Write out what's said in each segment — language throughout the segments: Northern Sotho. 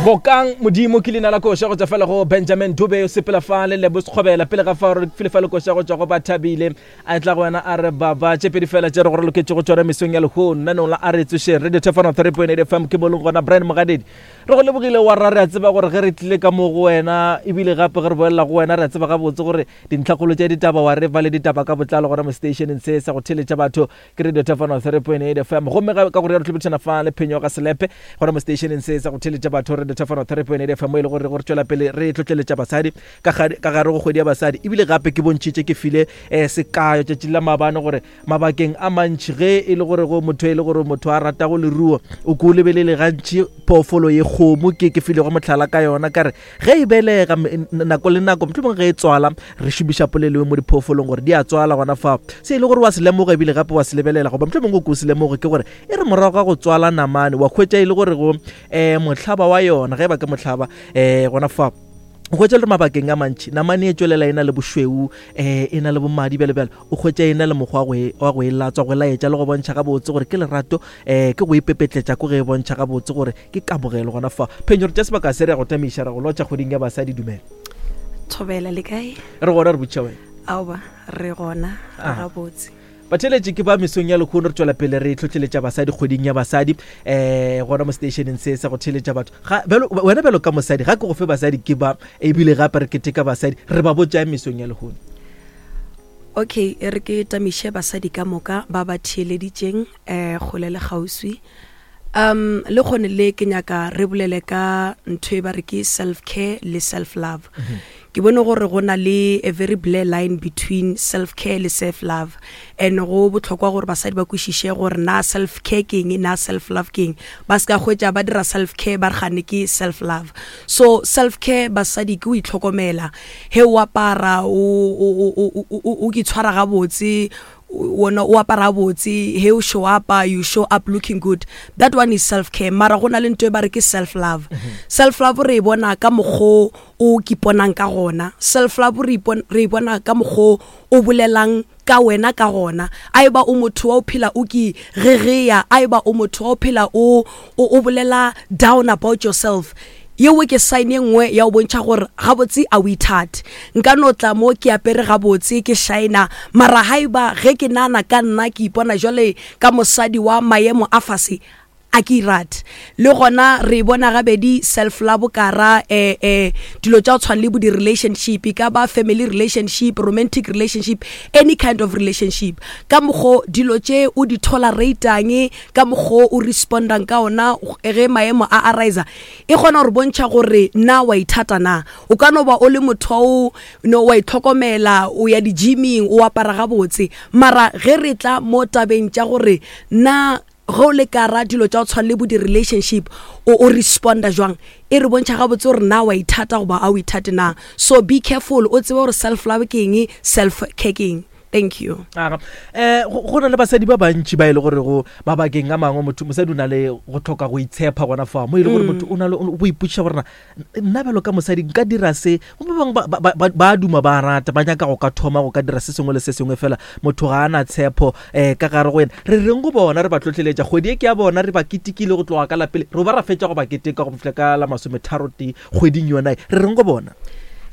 Bokang Modimo ke leina la koša go tšwa fela go Benjamin Dube o sepela fa le Lebo Sekgobela pele ga fa re file fa le koša go tšwa go Bathabile a etla go wena a re baba tše pedi fela tše re go re loketše go tšona mesong ya lehono nanong la a re tsošeng Radio Thefano 3.8 FM ke mo leng gona Brian Mogadedi re go lebogile wa rra re a tseba gore ge re tlile ka mo go wena ebile gape ge re boelela go wena re a tseba gabotse gore dintlhakgolo tša ditaba wa re fa le ditaba ka botlalo gona mo stationeng se sa go theletša batho Ke Radio Tafano 3.8 FM. Gomme ka go rialo tlhobetšana fa le phenyo ga selepe gona mo stationeng se sa go theletša batho Radio Tafano 3.8 FM mo e le gore gore tšwela pele re tlotleletša basadi ka gare go kgwedi ya basadi. Ebile gape ke bontšhitše ke file eh, sekayo tšatši la maabane gore mabakeng a mantši ge e le gore go motho e le gore motho a ratago leruo o ko o lebelele gantši phoofolo ye kgomo ke ke filego mohlala ka yona ka re Ge e belega, nako le nako, mohlomongwe ge e tswala, re šomiša polelo e mo diphoofolong gore di a tswala gona fao. Se e le gore wa se lemoga ebile gape wa se lebelela, goba mohlomongwe o ke o se lemoge, ke gore e re morago ga go tswala namane, wa hwetša e le gore go um mohlaba wa yona, ge e ba ke mohlaba um gona fao o hwetša le mabakeng a mantši namane e tšwelela e na le bošweu um e na le bomadi bjalo bjalo o hwetša e na le mokgwa wa go e latswa go laetša le go bontšha gabotse gore ke lerato um ke go ipepetletša ko ge e bontšha gabotse gore Ke kamogelo gona fa. Phenyo re tša sebaka se re ya go tamiša ra go lotša kgweding ya basadi dumela. Thobela le kae? Re gona re botša wena. Aoba re gona re Ah. gabotse. Batheeletši ke ba mesong ya lehono re tšwela pele re hlohleletša basadi kgweding ya basadi um gona mo stationeng se sa go theeletša batho ga bjalo wena bjalo ka mosadi ga ke go fe basadi ke ba ebile gape re keteka basadi re ba botša mesong ya lehono. Okay, e re ke tamiše basadi ka moka ba ba theeleditšeng um kgole le kgauswi. Um le kgone le ke nyaka re bolele ka ntho e ba re ke self care le self love. Mm -hmm. Ke bone gore go na le a very blur line between self care le self love and go botlhokwa gore basadi ba kwešiše gore na self care ke eng na self love ke eng ba se ka hwetša ba dira self care ba re gane ke self love so self care basadi ke o itlhokomela he o apara o o o o o itshwara gabotse wona o apara botse he o show up you show up looking good that one is self care mara go na le nto e ba re ke self love mm -hmm. self love re e bona ka mokgo o kiponang ka gona self love re e bona ka mokgo o bolelang ka wena ka gona a eba o motho wa o phela o ke gegeya a eba o motho wa o phela o o bolela down about yourself Yeo ke sign ye nngwe ya go bontšha gore gabotse a o ithate. Nka no tla mo ke apere gabotse, ke shina, mara haeba ge ke nana ka nna ke ipona jwale ka mosadi wa maemo a fase, a ke irate. Le gona re e bona gabedi self love ka ra eh, eh, dilo tša go tshwana le bo di-relationship, e ka ba family relationship, romantic relationship, any kind of relationship. Ka mokgo dilo tše o di tolerate-ang, ka mokgo o respondang ka ona ge maemo a arise, e kgona gore bontšha gore na wa ithata na o ka no ba o le motho o no wa itlhokomela o ya di-gyming o apara gabotse mara ge re tla mo tabeng tša gore na ge o le kara dilo tša go tshwana le bo di-relationship o, o responda jwang e re bontšha gabotse gore na wa ithata goba a o ithate na so be careful o tsebe gore self love ke eng self care ke eng Thank you. Aga. Eh go na le basadi ba bantši ba e le gore go mabakeng a mangwe motho mosadi o na le go tlhoka go itshepa gona fa mo e le gore mm. motho o na le o ipotšiša gore na nna bjalo ka mosadi nka dira se go ba bangwe ba duma ba rata ba nyaka go ka thoma go ka dira se sengwe le se sengwe fela motho ga a na tshepo um ka gare go ena re reng go bona re ba tlotleletša kgwedi e ke ya bona re ba ketekile go tloga ka lapele re ba ra fetša go ba keteka go fihla ka la masometharo tee kgweding yona e re reng go bona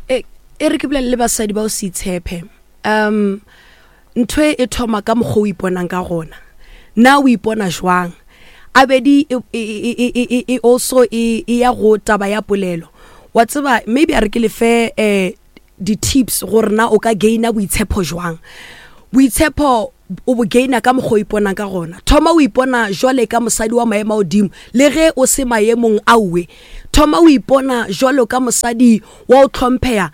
e, e re ke bolele le basadi ba o se itshepe um ntho e thoma ka mokgwa o iponang ka gona na o ipona jwang abedi e, e, e, e, e also e, e ya go taba ya polelo wa tseba maybe a re ke lefe um di-tips gore na o ka gaina boitshepo jwang boitshepo o bo gaina ka mokgwa o iponang ka gona thoma o ipona jwale ka mosadi wa maemo a godimo le ge o se maemong aowe thoma o ipona jwalo ka mosadi wa o tlhompheya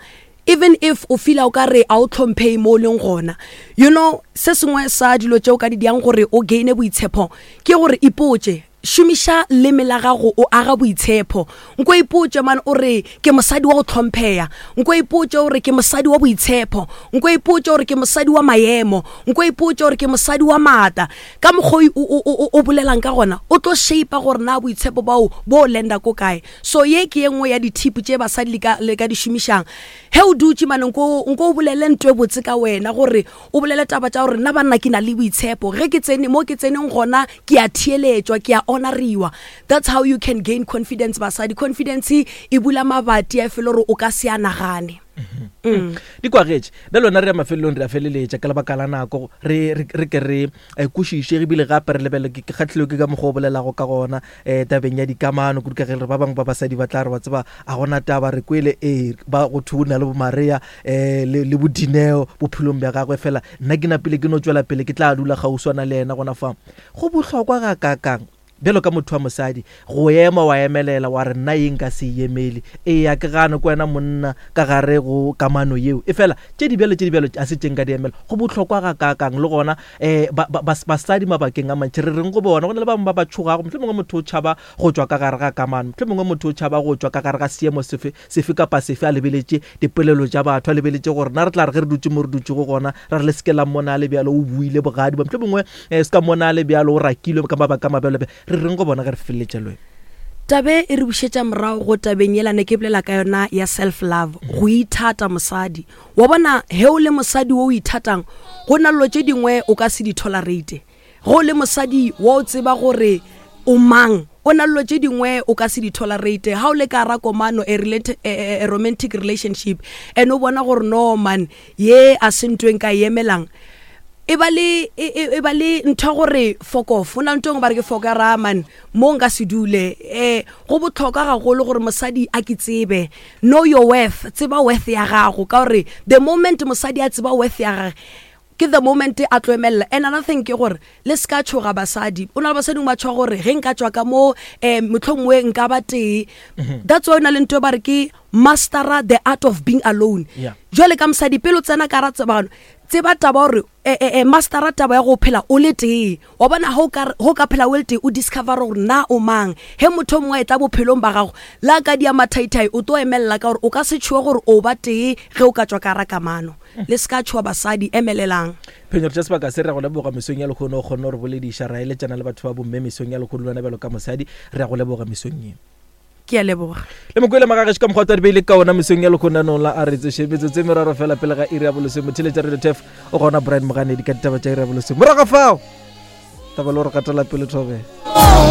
Even if o feela o ka re a o tlhomphei mo o leng gona. You know, se sengwe sa dilo tše o ka di diang gore o gaine boitshepho ke gore ipotše, šomiša leme la gago o aga boitshepho. Nko ipotše man o re ke mosadi wa go tlhompheya. Nko ipotše o re ke mosadi wa boitshepho. Nko ipotše o re ke mosadi wa maemo. Nko ipotše o re ke mosadi wa maata. Ka mokgwa o, o, o, o bolelang ka gona, o tlo shape gore na boitshepo bao bo lenda ko kae. So ye ke ye nngwe ya di-tip tše basadi le ka, le ka di šomišang. Ge o dutše mane nko, nko o bolele nto e botse ka wena gore o bolele taba tša gore nna banna ke na le boitshepo. Ge ke tsene mo ke tseneng gona ke a theeletšwa, ke a honor. honoriwa. That's how you can gain confidence basadi. Confidence e bula mabati a e fele gore o ka se a nagane. Mm. Di kwagetše. Bjale wena re ya mafelelong, re a feleletša ka lebaka la nako. Re, re, re ke re eh, kwešiše ebile gape re lebelele. Ke, ke kgahlilwe ke ka mokgwa o bolelago ka gona eh, tabeng ya dikamano, kudu ka ge re ba bangwe ba basadi ba tla re wa tseba a gona taba re kwele ee ba go thwe o na le boMaria eh, le, le boDineo bophelong bja gagwe fela nna ke napile ke no tšwela pele ke tla dula kgauswana le yena gona fa. Go bohlokwa gakaakang Bjalo ka motho wa mosadi, go ema wa emelela wa re, Nna ye nka se e emele. Eya, ke gane ke wena monna ka gare go kamano yeo. Efela, tše dibjalo, tše dibjalo ga se tše nka di emela. Go bohlokwa gakaakang! Le gona, um ba, ba, bas, basadi mabakeng a mantši, re reng go bona? Go na le ba bangwe ba ba tšhogago. Mohlomongwe motho o tšhaba go tšwa ka gare ga kamano. Mohlomongwe motho o tšhaba go tšwa ka gare ga seemo sefe, sefe kapa sefe, a lebeletše dipolelo tša batho, a lebeletše gore na re tla re ge re dutše mo re dutšego gona, ra re le se ke la mmona a le bjalo, o buile bogadi, mohlomongwe um se ka mmona a le bjalo, o rakilwe ka mabaka a mabjalo. Re reng go bona ge re feleletša le wena? Tabe e re bušetša morago go tabeng yela ne ke bolela ka yona ya self love, go ithata mosadi. Wa bona he o le mosadi wo o ithatang, go na llo tše dingwe o ka se di tolerate. Ge o le mosadi wa o tseba gore o mang, o na llo tše dingwe o ka se di tolerate. Ha o le ka ra komano, a, relate, a, a, a romantic relationship, and o bona gore no man, ye a se ntho e nka e emelang, e ba le, e, e, e ba le ntho ya gore fuck off. O na le ntho e nngwe ba re ke fuck ya ra man, mo nka se dule. Eh, go bohlokwa gagolo gore mosadi a ke tsebe. Know your worth, tseba worth ya gago, ka gore the moment mosadi a tseba worth ya gage, Ke the moment a tlo emelela. And another thing ke gore le se ka tšhoga basadi. O na le basadi ba tšhoga gore ge nka tšwa ka mo um mohlomongwe nka ba tee. That's why o na le ntho e ba re ke mastera the art of being alone. Jwale ka mosadi pele o tsena ka ra tsebano, tseba taba gore eh, eh, eh, mastera taba ya go phela o le tee. Wa bona ge o ka, ge o ka phela o le tee o discover gore na o mang. Ge motho o mongwe a etla bophelong ba gago le a ka dia mathaithai o tlo emelela ka gore o ka se tšhoge gore o ba tee ge o ka tšwa ka ra kamano. Le se ka tšhoga basadi, emelelang. Phenyo, re tša sebaka se, re a go leboga mesong ya lehono o kgonne go re bolediša, ra eletšana le batho ba bomme mesong ya lehono, le wena bjalo ka mosadi, re a go leboga mesong ye. Ke a leboga. Le mokwele magagešo ka mokgwa twa di beile ka ona mesong ya lehono anong la a re tsoše metsotso e meraro fela pele ga iri ya bolesome. Motheeletša Radio Turf o gona Brian Moganedi ka ditaba tša iri ya bolesome. Morago ga fao taba le gore gatela pele thobela.